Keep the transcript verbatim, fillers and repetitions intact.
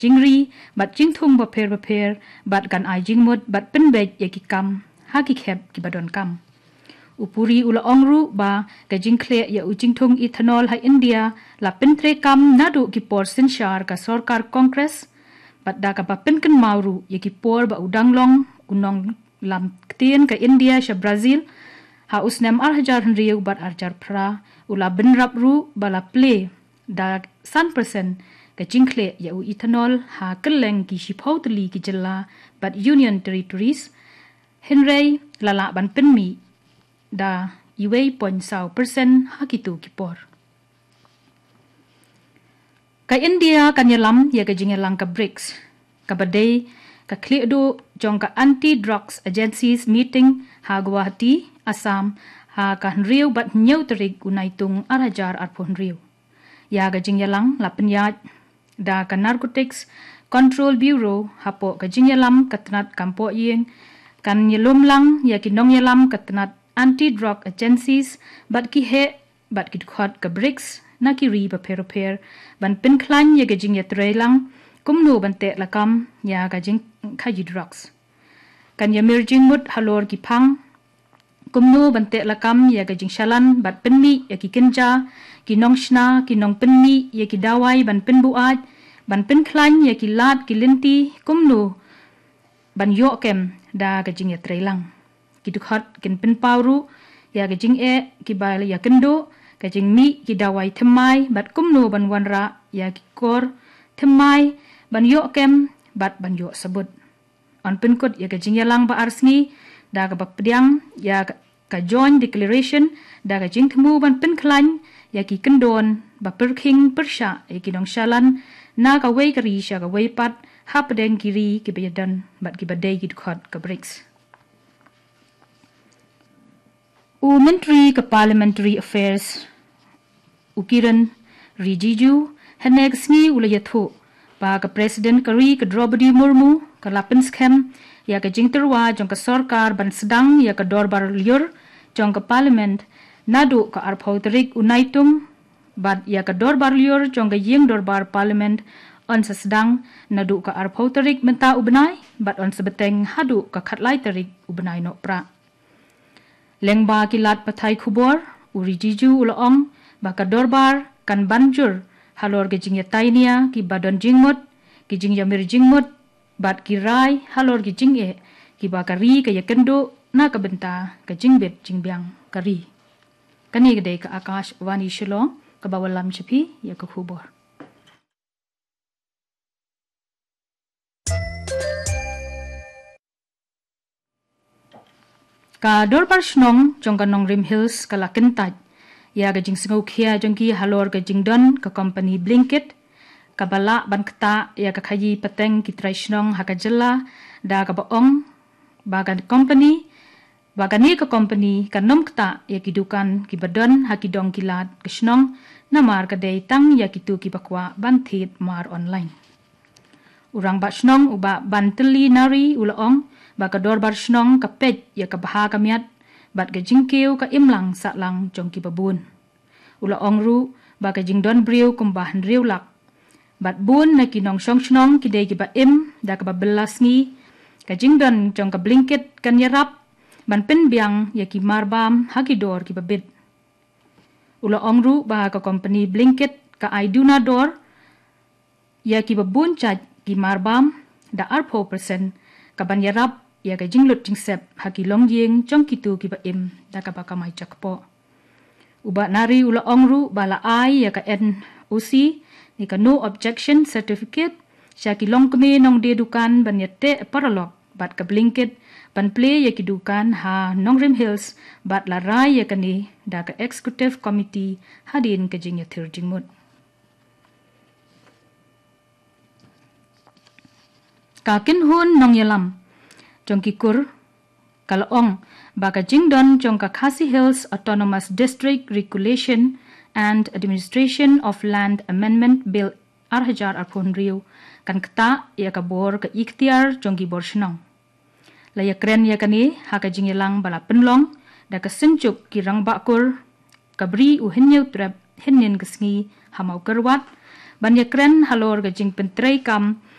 jingri bad jingthung bapher bapher bad kan ai jingmut bad pynbeit ïa ki kam ha ki khep kiba donkam. U Puri u la ong ruh ba ka jingkhleh ïa u jingthung ethanol ha India la pyntreikam naduh ki por synshar ka sorkar Congress, bad da kaba pynkynmaw ruh ïa ki por ba u dang long u nonglam ktien ka India sha Brazil ha u snem ar hajar hynriew bad ar hajar phra, u la bynrap ruh ba la plie da san persen ka jingkhleh ïa u ethanol ha kylleng ki shiphew tylli ki jylla bad Union Territories, hynrei la lah ban pynmih da uwei point saw persen ha kito ki por. Ka India kan ïalam ïa ka jingïalang ka BRICS, kaba dei ka khlieh duh jong ka Anti Drugs Agencies Meeting ha Guwahati, Assam, ha ka hynriew bad hynñiew tarik u Naitung ar hajar arphew hynriew. Ïa ka jingïalang la pynïaid da ka Narcotics Control Bureau hapoh ka jingïalam ka tnat kam pohïing, kan ïalum lang ïa ki nongïalam ka tnat Anti Drug Agencies bad ki heh bad ki dkhot ka BRICS na ki ri bapher bapher ban pynkhlaiñ ïa ka jingïatreilang kumno ban teh lakam ïa ka jingkhaïi drugs. Kan ïamir jingmut halor ki phang kumno ban teh lakam ïa ka jingshalan bad pynmih ïa ki kynja, ki nongshna, ki nongpynmih ïa ki dawai ban pynbuaid, ban pynkhlaiñ ïa ki lad ki lynti kumno ban ïoh kem da ka jingïatreilang. Ki dkhot kin pynpaw ruh ïa ka jingeh kiba ïakynduh, ka jingmih ki dawai thymmai bad kumno ban wanrah ïa ki kor thymmai ban ïoh kem bad ban ïoh sabut. Yn pynkut ïa ka jingïalang ba ar sngi da kaba pdiang ïa ka, ka Joint Declaration da ka jingthmu ban pynkhlaiñ ïa ki kyndon ba pyrkhing pyrshah ïa ki nongshalan na kawei ka ri sha kawei pat hapdeng ki ri kiba ïadon bad kiba dei ki dkhot ka BRICS. U Myntri ka Parliamentary Affairs, u Kiren Rijiju, hynne ka sngi u la ïathuh ba ka President ka ri ka Droupadi Murmu ka la pynskhem ïa ka jingtyrwa jong ka sorkar ban sdang ïa ka dorbar lyiur jong ka Parliament naduh ka arphew tarik u Naitung, bad ïa ka dorbar lyiur jong ka ïing dorbar Parliament yn sa sdang naduh ka arphew tarik mynta u bnai bad yn sa bteng haduh ka khatlai tarik u bnai Nohprah. Lyngba ki lad pathai khubor, u Rijiju u la ong ba ka dorbar kan ban jur halor ki jingïatai nia kiba don jingmut, ki jingïamir jingmut bad ki rai halor ki jingeh kiba ka ri ka ïakynduh na ka bynta ka jingbit jingbiang ka ri. Kane ka dei ka Akashvani Shillong kaba wallam sha phi ïa ka khubor. Ka Dorbar Shnong jong ka Nongrim Hills ka la kyntait ïa ka jingsngewkhia jong ki halor ka jingdon ka company Blinkit kaba lah ban ktah ïa ka khaïi pateng ki trai shnong ha ka jylla, da kaba ong ba ka company, ba kane ka company kan ym ktah ïa ki dukan kiba don ha ki dong ki lad ka shnong, namar ka dei tang ïa kito kiba kwah ban thied mar online. U Rangbah Shnong u Bah Bantylli Nari u la ong ba ka Dorbar Shnong ka peit ïa ka bha ka miat bad ka jingkiew ka imlang sahlang jong kiba bun. U la ong ruh ba ka jingdon briew kumba hynriew lak bad bun na ki nongshong shnong ki dei kiba im da kaba bylla sngi. Ka jingdon jong ka Blinkit kan ïarap ban pynbiang ïa ki marbam ha ki dor kiba bit. U la ong ruh ba ka company Blinkit ka ai duna dor ïa kiba bun jait ki marbam da arphew persen, kaban ïarap ïa ka jinglut jingsep ha ki longïing jong kito kiba im da kaba kamai jakpoh. U Bah Nari u la ong ruh ba la ai ïa ka N O C ne ka No Objection Certificate sha ki longkmie nongdie dukan ban ïateh paralok bad ka Blinkit ban plie ïa ki dukan ha Nongrim Hills, bad la rai ïa kane da ka Executive Committee hadien ka jingïathir jingmut. Ka kynhun nongïalam jong ki kur ka la ong ba ka jingdon jong ka Khasi Hills Autonomous District Regulation and Administration of Land Amendment Bill ar hajar arphew hynriew kan ktah ïa ka bor ka iktiar jong ki bor shnong. La ïakren ïa kane ha ka jingïalang ba la pynlong da ka synjuk ki rangbah kur ka Bri u Hynñiewtrep hynnin ka sngi ha Mawkyrwat, ban ïakren halor ka jingpyntreikam